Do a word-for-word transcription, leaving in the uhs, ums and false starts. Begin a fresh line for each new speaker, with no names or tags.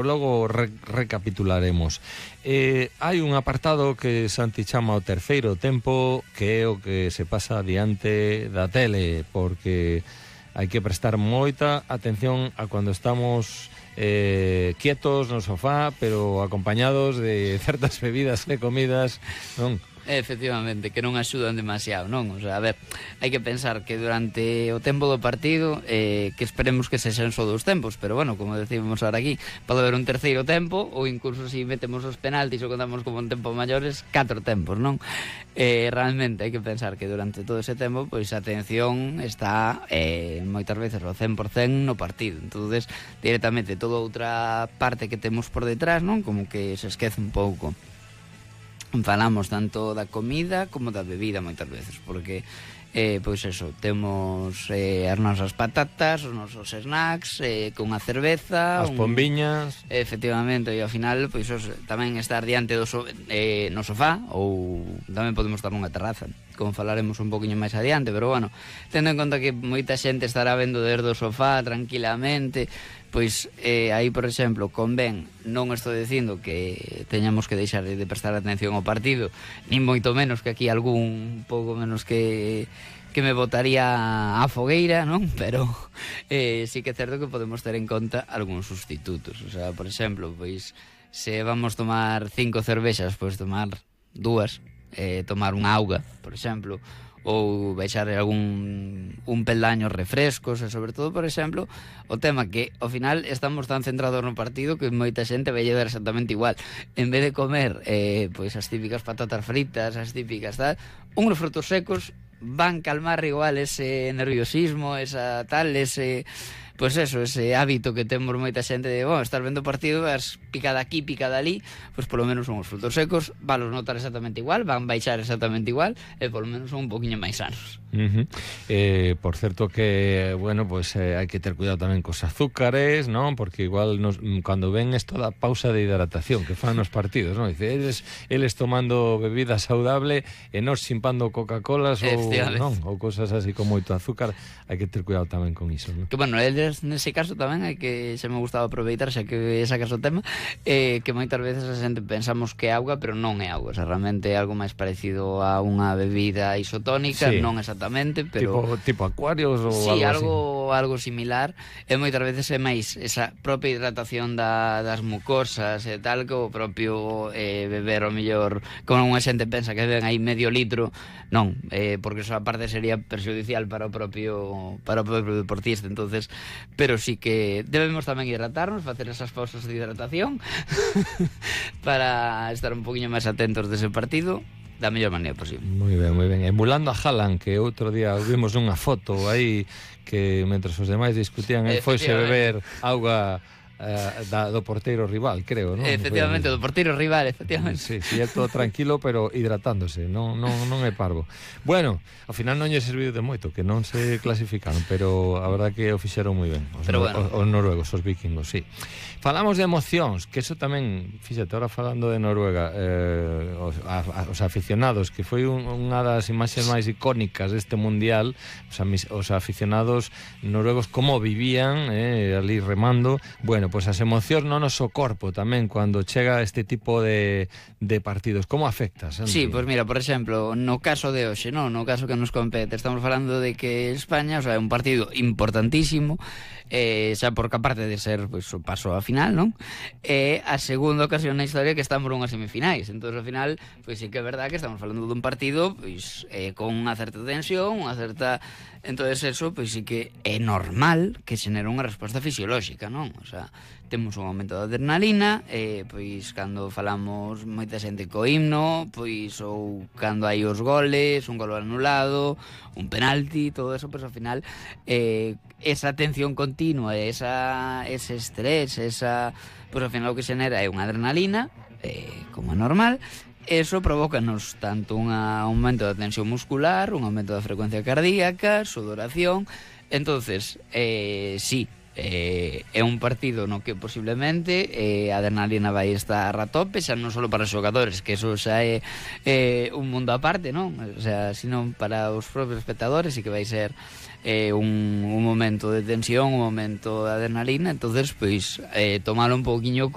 Logo re recapitularemos. Eh, hai un apartado que Santi chama o terceiro tempo, que é o que se pasa diante da tele, porque hai que prestar moita atención a cando estamos eh, quietos no sofá, pero acompañados de certas bebidas e comidas, non?
Efectivamente, que non axudan demasiado, non? O sea, a ver, hai que pensar que durante o tempo do partido eh, que esperemos que se xen só dos tempos, pero bueno, como decimos ahora aquí, pode haber un terceiro tempo ou incluso se si metemos os penaltis ou contamos como un tempo maiores, catro tempos, non? Eh, realmente hai que pensar que durante todo ese tempo pois a atención está eh, moitas veces ao cen por cen no partido, entonces directamente toda outra parte que temos por detrás, non? Como que se esquece un pouco. Falamos tanto da comida como da bebida moitas veces, porque eh, pois eso, temos eh, as nosas patatas, os nosos snacks, eh, con a cerveza,
as pombiñas,
un... efectivamente, e ao final pois os, tamén estar diante do so, eh, no sofá, ou tamén podemos estar nunha terraza, como falaremos un poquinho máis adiante, pero bueno, tendo en conta que moita xente estará vendo desde o sofá tranquilamente, pois eh, aí, por exemplo, convén, non estou dicindo que teñamos que deixar de prestar atención ao partido, nin moito menos que aquí algún pouco menos que que me botaría a fogueira, non? Pero eh, sí que é certo que podemos ter en conta algúns sustitutos, o sea, por exemplo, pois se vamos tomar cinco cervexas, pois tomar dúas, eh, tomar unha auga, por exemplo, ou baixar algún un peldaño refrescos, e sobre todo, por exemplo, o tema que ao final estamos tan centrados no partido que moita xente vai dar exactamente igual. En vez de comer eh, pois as típicas patatas fritas, as típicas tal, uns frutos secos van calmar igual ese nerviosismo, esa tal, ese... Pois eso, ese hábito que temos moita xente de, bueno, estar vendo o partido, vas picada aquí, picada ali, pois polo menos son os frutos secos, van los notar exactamente igual, van baixar exactamente igual, e polo menos son un poquinho máis sanos.
Uh -huh. eh, por certo que, bueno, pues eh, hai que ter cuidado tamén cos azúcares, non? Porque igual nos, cando ven esto da pausa de hidratación que fan nos partidos, non? Dice, eles, eles tomando bebida saudable e nos simpando Coca-Colas ou, non? Ou cosas así con moito azúcar, hai que ter cuidado tamén con iso, non?
Que, bueno, eles nese caso tamén hai que, se me gustaba aproveitar, xa que sacas o tema, eh, que moitas veces a xente pensamos que é auga, pero non é auga, o sea, realmente é algo máis parecido a unha bebida isotónica, sí. Non exactamente, pero...
Tipo, tipo acuarios ou
sí,
algo
algo, algo similar, e moitas veces é máis esa propia hidratación da, das mucosas e tal, que o propio eh, beber o mellor, como unha xente pensa que beben aí medio litro, non, eh, porque eso aparte sería perxudicial para o propio para o propio deportista, entonces pero sí que debemos tamén hidratarnos, facer esas pausas de hidratación para estar un poquinho máis atentos dese partido da mellor maneira posible.
Moi ben, moi ben. Emulando a Haaland, que outro día vimos unha foto aí que mentre os demais discutían, el foise beber auga Uh, da, do porteiro rival, creo, non?
Efectivamente, do porteiro rival, efectivamente.
Sí, sí, é todo tranquilo, pero hidratándose, non, non, non é parvo. Bueno, ao final non lle serviu de moito, que non se clasificaron, pero a verdad que o fixeron moi ben os,
pero
no,
bueno.
os, os noruegos, os vikingos, sí. Falamos de emocións, que eso tamén, fíxate, ahora falando de Noruega, eh, os, a, a, os aficionados, que foi un, unha das imaxes máis icónicas deste mundial, os, os aficionados noruegos como vivían, eh, ali remando, bueno, pois as emocións no noso corpo tamén cando chega este tipo de, de partidos. Como afectas?
Sí, pois pues mira, por exemplo, no caso de hoxe, no, no caso que nos compete, estamos falando de que España, o sea, é un partido importantísimo, eh, xa porque aparte de ser pois, pues, o paso a final, non? É eh, a segunda ocasión na historia que estamos nunhas semifinais, entón ao final, pois pues, sí que é verdad que estamos falando dun partido pois, eh, con unha certa tensión, unha certa... Entonces eso, pois sí que é normal que xenere unha resposta fisiolóxica, non? O sea, temos un aumento de adrenalina, eh, pois cando falamos moita xente co himno, pois ou cando hai os goles, un gol anulado, un penalti, todo eso, pois ao final eh, esa tensión continua, esa, ese estrés, esa, pois ao final o que xenera é unha adrenalina, eh, como é normal. Eso provócanos tanto un aumento da tensión muscular, un aumento da frecuencia cardíaca, sudoración. Entonces, eh, sí, eh, é un partido no que posiblemente eh, a adrenalina vai estar a tope, xa non só para os xogadores, que eso xa é eh, un mundo aparte, non? O sea, sino para os propios espectadores, e que vai ser eh, un, un momento de tensión, un momento de adrenalina. Entonces, pois, eh, tomalo un pouquiño